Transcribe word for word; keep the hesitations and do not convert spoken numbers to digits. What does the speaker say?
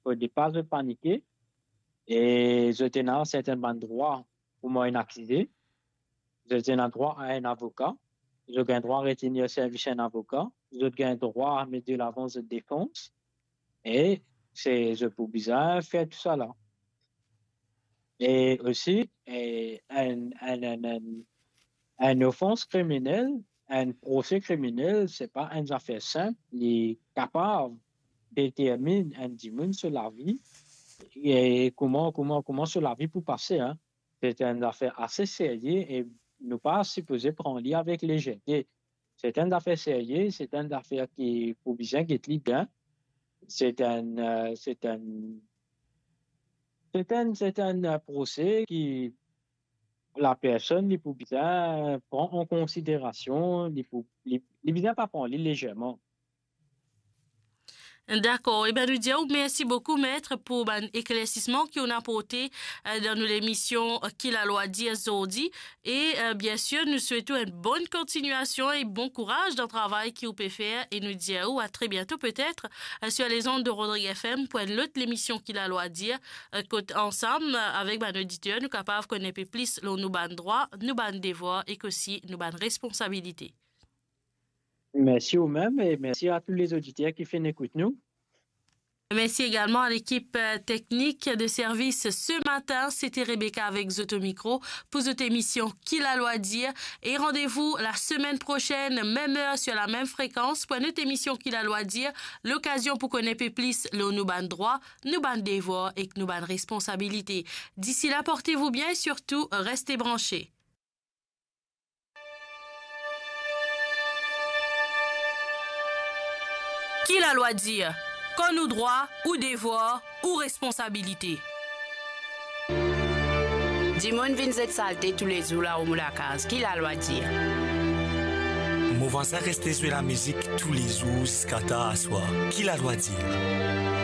fode pa zot panike, e zot ena sertin bann drwa kouma enn akize, zot ena drwa a enn avoka, zot gagn drwa retenir servis enn avoka, zot gagn drwa met delavan zot defans, e se, zot pou bizin fer tousala. E osi, e, enn, enn, enn, enn, enn ofans kriminel, enn prose kriminel, se pa enn zafer sinp, li kapav determinn enn dimoun so lavi, e kouma, kouma, kouma so lavi pou pase, en. Se enn zafer ase serye e nou pa sipoze pran li avek lezerte. Se enn zafer serye, se enn zafer ki pou bizin get li bien. Se enn, eh, se enn, se enn, se enn, eh, prose ki lapersonn li pou bizin pran an konsiderasion, li pou, li, li bizin pa pran li lezerman. Dakor. Ebin, nou dir ou mersi boukou, met, pou bann eklersisman ki ou'nn aporte, eh, dan nou lemision, eh, Ki Lalwa Dir zordi. E, eh, biensir, nou swet ou enn bonn kontignasion e bon kouraz dan travay ki ou pe fer. E nou dir ou a tre biento, petet, eh, sur les ondes de Rodrigue F M pou enn lot lemision Ki Lalwa Dir, eh, kot ansam, eh, avek bann oditer, nou kapav konn enpe plis lor nou bann drwa, nou bann devwar ek osi nou bann responsabilite. Mersi ou mem e mersi a tou lezoditer ki finn ekout nou. Mersi egalman a lekip, eh, teknik de servis se matin. Se te Rebecca avek zot o mikro pou zot emision Ki Lalwa Dir. E randevou la semenn prosenn, mem er, sur la mem frekans, pou enn lot emision Ki Lalwa Dir, lokazion pou konn enpe plis lor nou bann drwa, nou bann devwar ek nou bann responsabilite. Disi la, porte vou bien e sirtou, reste branche. Ki Lalwa Dir? Konn ou drwa, ou devwar, ou responsabilite. Dimoun vinn zet salte toulezour larom ou lakaz. Ki Lalwa Dir? Mo vwazin reste zwe lamizik toulezour ziska tar aswar. Ki Lalwa Dir?